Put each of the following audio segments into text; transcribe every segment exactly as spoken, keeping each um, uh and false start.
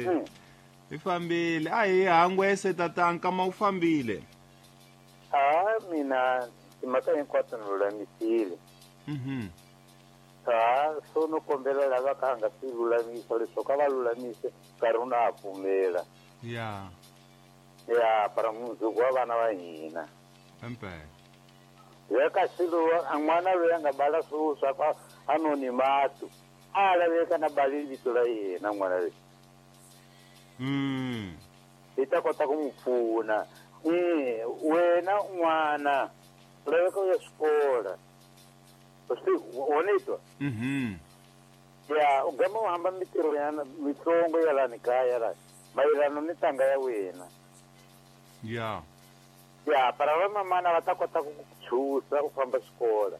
Mm. I fambile. A hi hangwese tata nkama wu fambile. A mina timhaka hinkwato ni lulamisile. Mhm. A so no kombela lava ka nga swi lulamisa leswaku a va lulamise nkarhi wu na ha pfumela. Ya. Ya para mundzuku wa vana va hina. Empela. Ya kasi lowu a n'wana loyi a nga bala swilo swa ku a noni matu a laveka na bali vito ra yena n'wana loyi. Mm. Hi ta kota ku n'wi pfuna. Eh, wena n'wana u laveka u ya xikola. Swi wonitwa? Mhm. Ya, u gama u hamba mitirho ya mitsongo ya lani kaya la mayelana ni ntanga ya wena. Ya. Ya, para va mamana va ta kota ku ku chusa u famba xikola.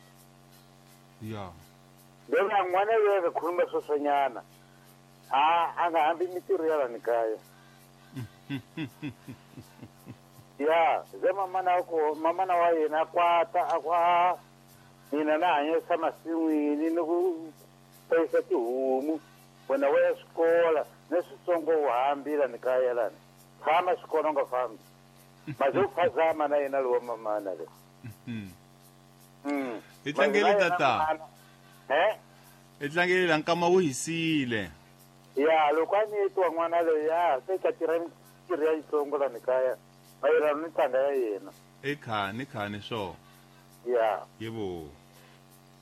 Ya. Then n'wana loyi a nga khuluma sweswanyana a a nga hambi mitirho ya lani kaya. Ya, ze mamana ku mamana wa yena a kwata a ku a mina na hanyisa masin'wini ni ku hlayisa tihomu wena wa ya xikola ni switsongo u hambi lani kaya lani tshama xikolo u nga fambi maze u phazama na yena lowa mamana le. Mhm. Mm. Hi tlangele tata. Eh? Hi tlangele la nkama wu hisile. Ya, loko a ni twa n'wana loyi a se ka tirha mitirho ya yitsongo lani kaya mayelana ni ntanga ya yena. I khani khani swo. Ya. Yebo.